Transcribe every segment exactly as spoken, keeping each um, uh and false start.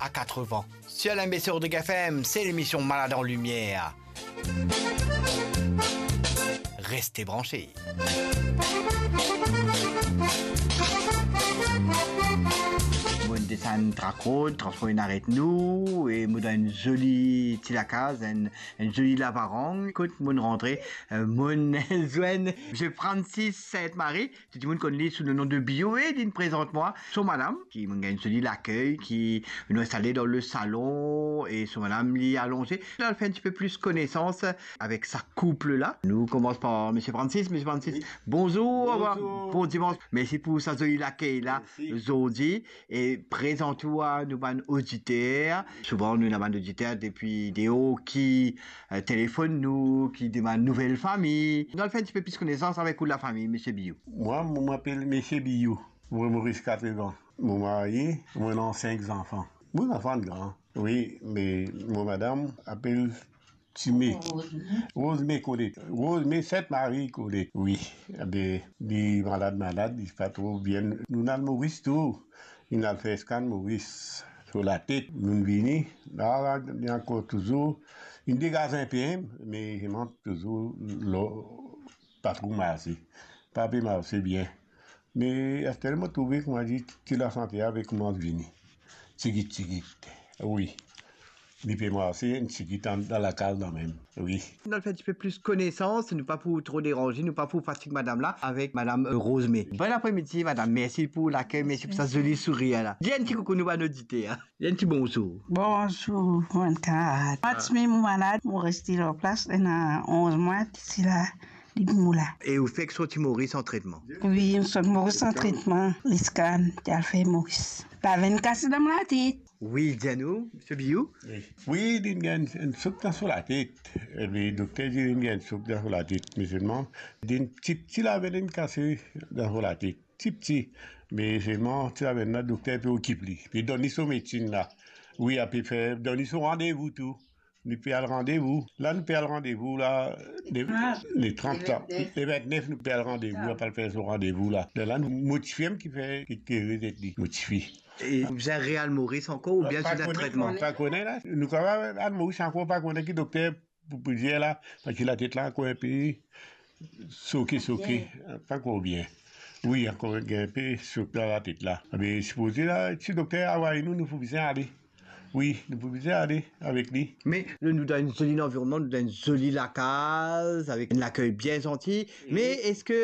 à quatre vents. Sur la M B C Rodrigue F M, c'est l'émission Malade en Lumière. Restez branchés. Mo'nn desann Trac Rod, transpor inn aret nou, e mo dan enn zoli ti lakaz, enn, enn zoli lavarang. Kot mo'nn rantre, eh, mo'nn zwenn Misie Francis Sainte-Marie, tou dimoun konn li sou le nom de Bio, e li'nn prezant mwa so madam, ki mo'nn gagn zoli lakey, ki nou instale dan le salon, e so madam li alonze. Nou al fer enn tipe plis konesans avek sa koup la. Nou koumans par Misie Francis. Misie Francis, bonzour, bon dimansh. Mersi pou sa zoli lakey la zordi. E prezant ou a nou bann oditer. Souvan nou ena bann oditer depi deor ki, eh, telefonn nou, ki demann nouvel fami. Nou al fer enn tipe plis konesans avek ou lafami, Misie Bio. Mwa, mo apel Misie Bio. Mo Moris Katrevan. Mo marye, mo ena sink zanfan. Mo zanfan gran. Wi, me mo madam apel Time. Rosme. Rosme Kolet. Rosme Sainte-Marie Kolet, wi. Be, li malad, malad, li pa tro bien. Nou'nn al Moris tou. Nou'nn al fer scan Moris. So latet, nou'nn vini. La, la, li ankor touzour. Li degaz inpe, me li mank touzour lor pa tro marse. Pa pe marse bien. Me aster mo trouve, kouma dir, ti lasante ave koumans vini. Tigit, tigit. Wi. Li pe marse, enn tigit dan, dan lakaz la mem. Wi. Nou al fer enn tipe plis konesans, nou pa pou tro deranze, nou pa pou fatig madam la, avek madam, eh, Rosme. Bon apremidi, madam. Mersi pou lakey, mersi pou sa zoli sourir la. Dir enn ti koukou nou bann oditer, hein. Dir enn ti bonzour. Bonzour, bann kamarad. Mwa ti me mo malad, mo reste lor plas, ena onz mwa, ti la. Depi mo la. E ou fek sorti Moris an tretman? Wi, mo sorti Moris an tretman. Li scan, ti al fer Moris. Lavenn kase dan mo latet. Wi, dir nou, Misie Bio. Wi. Wi, li'nn gagn enn souk dan so latet. E dokter dir li'nn gagn enn souk dan so latet. Me selman, li'nn ti, ti lavenn inn kase dan so latet. Tipti. Me selman, ti lavenn la, dokter pe okip li. Pe donn li so medsin la. Wi, ape fer, donn li so randevou tou. Nou pe al randevou. La, nou pe al randevou la, le, le trant la. Le vintnef. Le vintnef, nou pe al randevou, nou pe al fer so randevou la. La, la, nou, mo tifi mem ki fer, ki, ki rezet li, mo tifi. E ou bizin re-al Moris ankor oubien ti dan tretman? Pa kone, pa kone la. Nou kapav al Moris ankor, pa kone ki dokter pou, pou dir la, parski latet la ankor inpe soke, soke. Pa ankor bien. Wi, ankor inpe soke dan latet la. Me sipoze la, si dokter avoy nou, nou pou bizin ale. Wi, nou pou bizin ale avek li. Me nou dan enn zoli lanvironnman, nou dan enn zoli lakaz, avek enn lakey bien zanti. Wi. Me eski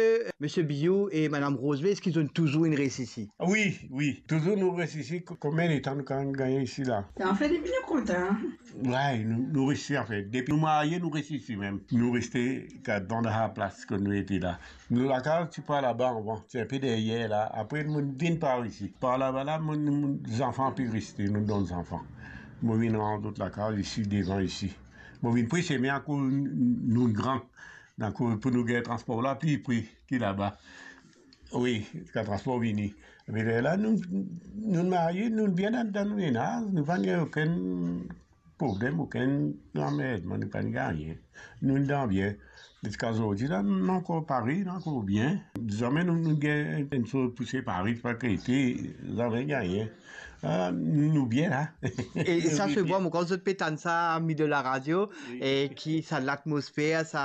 Misie Bio e madam Rosme, eski zot touzour inn res isi? Wi, wi. Touzour nou res isi. Ko-, konbien letan nou kapav gagn isi la? Anfin, depi nou kontan. Wi, nou, nou res isi, anfin. Depi nou marye, nou res isi mem. Nou reste kat dan sa plas kot nou ete la. Nou lakaz ti par laba anvan, ti inpe deryer la. Apre, nou vinn par isi. Par laba la, mo, mo, zanfan pe reste, nou donn zanfan. Mo vinn rant lot lakaz isi, devan isi. Mo vinn pre sime akoz n-, nou gran. Donk, pou nou gagn transpor la pli pre ki laba. Wi, kan transpor vini. Me lerla, nou, nou marye, nou bien dan, dan nou mennaz, nou pa gagn okenn problem, okenn lanmerdman, nou pa gagn nanye. Nou dan bien. Ziska zordi la, nou ankor parey, nou ankor bien. Zame nou, nou gagn enn soz pou separe, pa krete, zame gagn nanye. Ah, nou bien la. E sa se bon, kan zot pe tann sa, ami de la radio, wi, e ki sa latmosfer, sa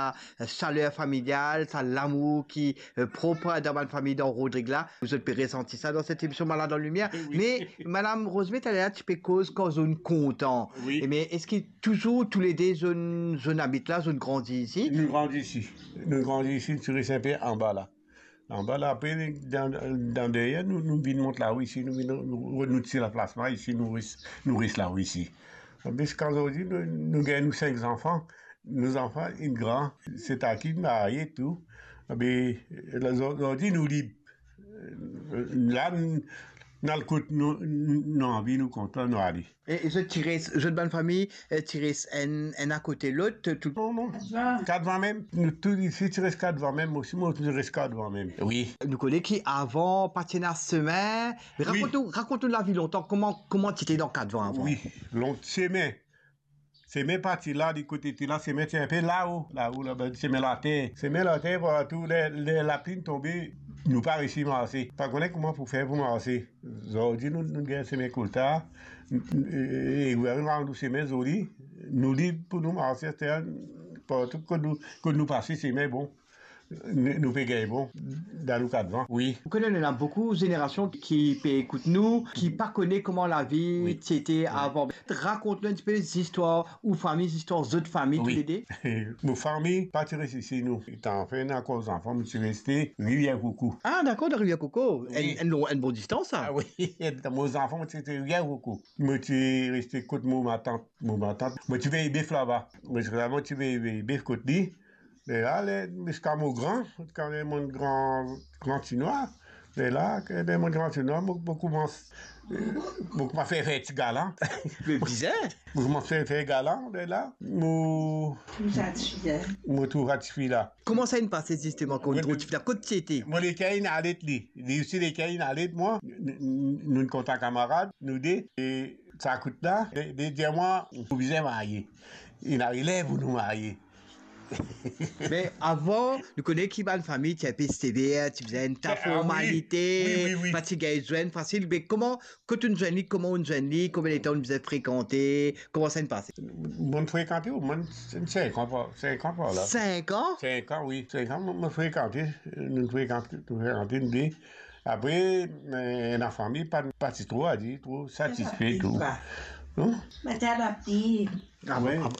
saler familial, sa lamour ki, eh, prop dan bann fami dan Rodrig la. Zot pe resanti sa dan set emision Malade en Lumière. Eh wi. Me, Madam Rosme, taler ti pe koz kan zot kontan. Wi. E me, eski touzour toulede zot, zot abit la, zot grandi isi? Nou grandi isi. Nou grandi isi, nou ti res inpe anba la. Anba la, apre, dan, dan deryer, nou, nou vinn mont lao isi, nou vinn, nou, nou ti laplas la isi, nou res, nou res lao isi. Ziska zordi, nou, nou gagn nou sink zanfan. Nou zanfan inn gran, seki marye tou. Be, la, zor-, zordi nou lib. La, n-, nou al kot nou, nou anvi, nou kontan, nou ale. E, e zot ti res, zot bann fami, e, ti res enn, enn akote lot, tou? Non, non. Kat van mem. Nou tou isi ti res kat van mem. Mo osi, mo ti res kat van mem. Wi. Nou kone ki avan, pa ti ena semin. Wi. Rakont nou, rakont nou lavi lontan, kouma, kouma ti ete dan kat van avan? Wi, lon-, semin. Semin pa ti la, li kote ti la, semin ti inpe lao, lao laba, semin later. Semin later, partou, ler, ler lapli tonbe, nou pa resi marse. Pa kone kouma pou fer pou marse. Zordi, nou, nou gagn semin kolta, E, e, e, nou rann nou sime zoli, nou lib pou nou marse, aster, partou kot nou, kot nou pase, sime bon. Nou, nou pe gagn bon, dan nou kat van, wi. Ou kone, ena boukou zenerasion ki pe ekout nou, ki pa kone kouma lavi Wi. ti ete Wi. avan. Rakont nou enn tipe zistwar ou fami, zistwar zot fami, Wi. toulede. Mo fami pa ti res isi, nou. Letan finn ankor zanfan, mo ti reste Rivier Coco. Ah, dakor, dan Rivier Coco. Wi. Enn, enn lo-, enn bon distans, sa. Ah wi, mo zanfan, mo ti reste Rivier Coco. Mo ti reste kot mo matant, mo matant. Mo ti vey bef laba. Mo ti, mo ti vey, vey bef kot li. Lerla, le, ziska mo gran, ziska le mo gran, gran ti nwa. Lerla, ke le mo gran ti nwa, mo, mo koumans, eh, mo koumans fer, fer ti galan. Me bizin. Mo koumans fer, fer galan, lerla, mo, Trouv sa tifi la. mo trouv sa tifi la. Kouma sa inn pase zisteman, kan ou Mo, trouv tifi la? Kot ti ete? Mo leker inn alet li. Li osi leker inn alet mwa. N-, n-, n-, nou kontan kamarad, nou de. E sa kout la, li, li dir mwa, nou bizin marye. Ena ler pou nou marye. Me avan, nou kone ki bann fami ti enpe sever, ti bizin enn ta Ah, ah, wi. formalite, Wi, wi, wi. pa ti gagn zwenn fasil. Me kouma, kot ou'nn zwenn li, kouma ou'nn zwenn li, konbien letan ou'nn bizin frekante, kouma sa inn pase? Mo'nn frekante, omoin sink an par, sink an par la. Sink an? Sink an, wi, sink an, mo, mo frekante, nou frekante, nou frekante, nou de. Apre, eh, ena fami pa, pa ti tro, a dir, tro satisfe tou. Ba. Non? Ba ti adapte. Ah, Wi. ah,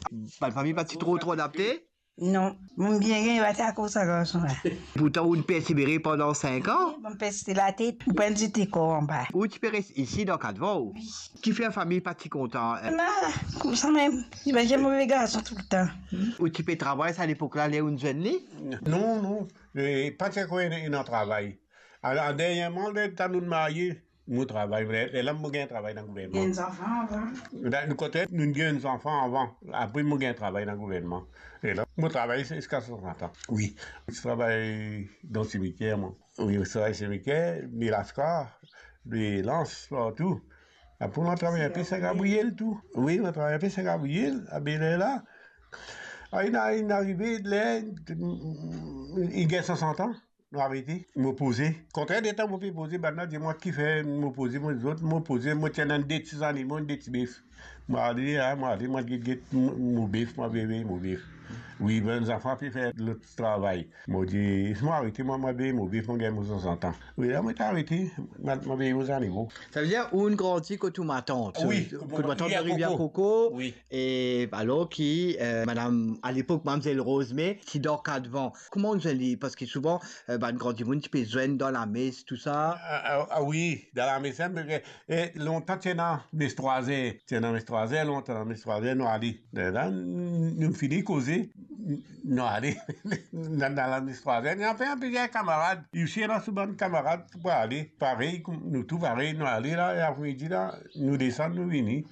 bann fami pa ti tro, tro adapte? Non, mo bien gagn, ba ti akoz sa garson la. Pourtan, ou'nn persevere pandan sink an? Wi, mo pes latet, mo pa zet lekor anba. Ou ti pe res isi dan kat van ou? Wi. Kifer fami pa ti kontan, eh? Na, koumsa mem, li pa ti move garson toultan. Ou ti pe travay sa lepok la, ler ou'nn zwenn li? Non, non. E, pa ti ankor ena, ena travay. Ala, dernyerman, letan nou'nn marye, mo travay, ler, lerla mo gagn travay dan gouvernman. Gagn zanfan avan. Dan, nou kote, nou gagn zanfan avan. Apre, mo gagn travay dan gouvernman. E la, mo travay ziska swasant an. Wi. Mo ti travay dan simitier, mwa. Wi, mo ti travay simitier, Milaska, Lans, partou. Apre, mo travay enpe Saint Gabriel tou. Wi, mo travay enpe Saint Gabriel, a Bel Air la. A, inn, inn arive, ler, inn gagn swasant an. Mo arete, mo poze. Kontrerman, mo pe poze, bann la dir mwa kifer mo poze, mo zot, mo poze, mo ti ena de ti zanimo, de ti bef. Mo ale, a, mo ale, mo get, get mo, mo bef, mo veye mo bef. Wi, bann zanfan pe fer lot travay. Mo dir, mo arete, mo, mo veye mo bef, mo gagn mo swasant an. Wi, la, mo ti arete, mo, mo veye mo zanimo. Savedir, ou'nn grandi kot ou matant. Wi, kot mo, kot matant Rivier Koko. Wi. E alor ki, eh, madam, a lepok, mamzel Rose May, ti dan kat van. Kouma ou'nn zwenn li? Parski souvan, eh, bann gran dimoun ti pe zwenn dan lames, tou sa. A, a, a wi, dan lames, hein, parski, eh, lontan ti ena mes trwa zer, ti ena mes trwa zer, lontan mes trwa zer, nou ale. Lerla, n-, nou fini koze, n-, nou ale dan, dan lames trwa zer. Nou ena plizier kamarad, isi ena sou bann kamarad pou ale, parey, kouma nou tou parey, nou ale la, e apremidi la, nou desann, nou vini.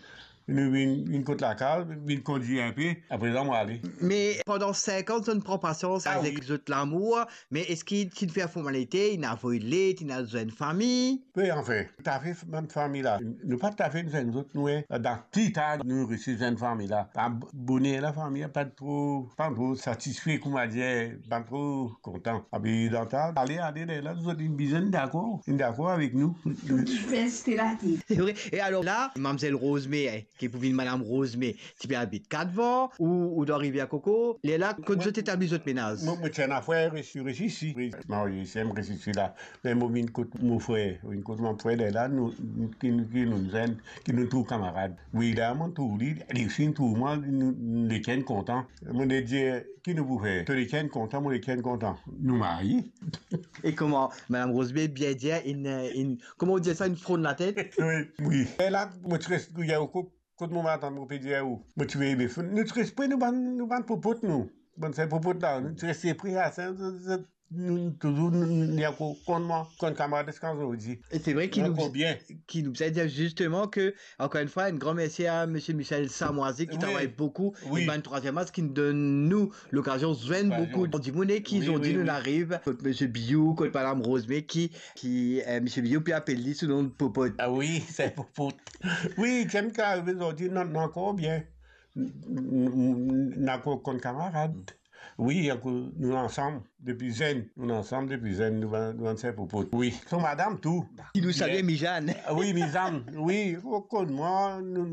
Nou vinn, vinn kot lakaz, vinn kondwir enpe, apre sa mo ale. Me pandan sink an, zot inn pran pasians avek zot lamour, me eski ti fer formalite, inn avoy let, inn al zwenn fami? Wi, anfin, tafe bann fami la, nou pa tafe zwenn zot, nou, e, dan pli tar, nou resi zwenn fami la. A, boner la, fami la pa tro, pa tro satisfe, kouma dir, pa tro kontan. Apre dan ta, ale, ale, lerla, zot inn bizin dakor, inn dakor avek nou. Tou ti fer site latet. Se vre. E alor la, mamzel Rose May, e, ki pou vinn madam Rose May, ti pe abit kat van, ou, ou dan Rivier Koko? Lerla, kot zot etabli zot menaz? Mo, mo ti ena frer isi, isi. Wi, marye isi, mo res isi la. Me mo vinn kot mo frer, vinn kot mo frer, lerla, nou, ki nou, ki nou zwenn, ki nou trouv kamarad. Wi, la, mo trouv li, li osi trouv mwa, nou, nou leker kontan. Mo dir, ki nou pou fer? To leker kontan, mo leker kontan. Nou marye. E kouma, madam Rose May bien dir, inn, inn, kouma ou dir sa, inn fronn latet? Wi, wi. E la, mo ti res, gouye ou kot, kot mo matant, mo pe dir ou, mo ti veye bef. Nou ti res pre nou bann, nou bann popot, nou. Bann se popot la, nou ti res pre a sa, sa, sa, nou, nou touzour, nou, nou, nou ankor konn mwa, konn kamarad ziska zordi. E se vre ki nou, ankor bien. Ki nou bizin dir zisteman ke, ankor enn fwa, enn gran mersi a misie Michel Samoisie ki travay boukou, wi, e bann Trwaziem As ki donn nou lokazion zwenn boukou dimoun e ki zordi nou ariv kot misie Biou, kot madam Rose May ki, ki, eh, misie Biou pe apel li sou nom Popot. A wi, se Popot. Wi, ki arive zordi, nou, nou ankor bien. N-, n-, n-, nou ankor konn kamarad. Wi, akoz nou ansam depi zenn, nou ansam depi zenn, nou bann, nou bann ser pou pot. Wi, son madam tou. Ki nou salye, Mijane. Wi, Mijane, wi, konn mwa, nou,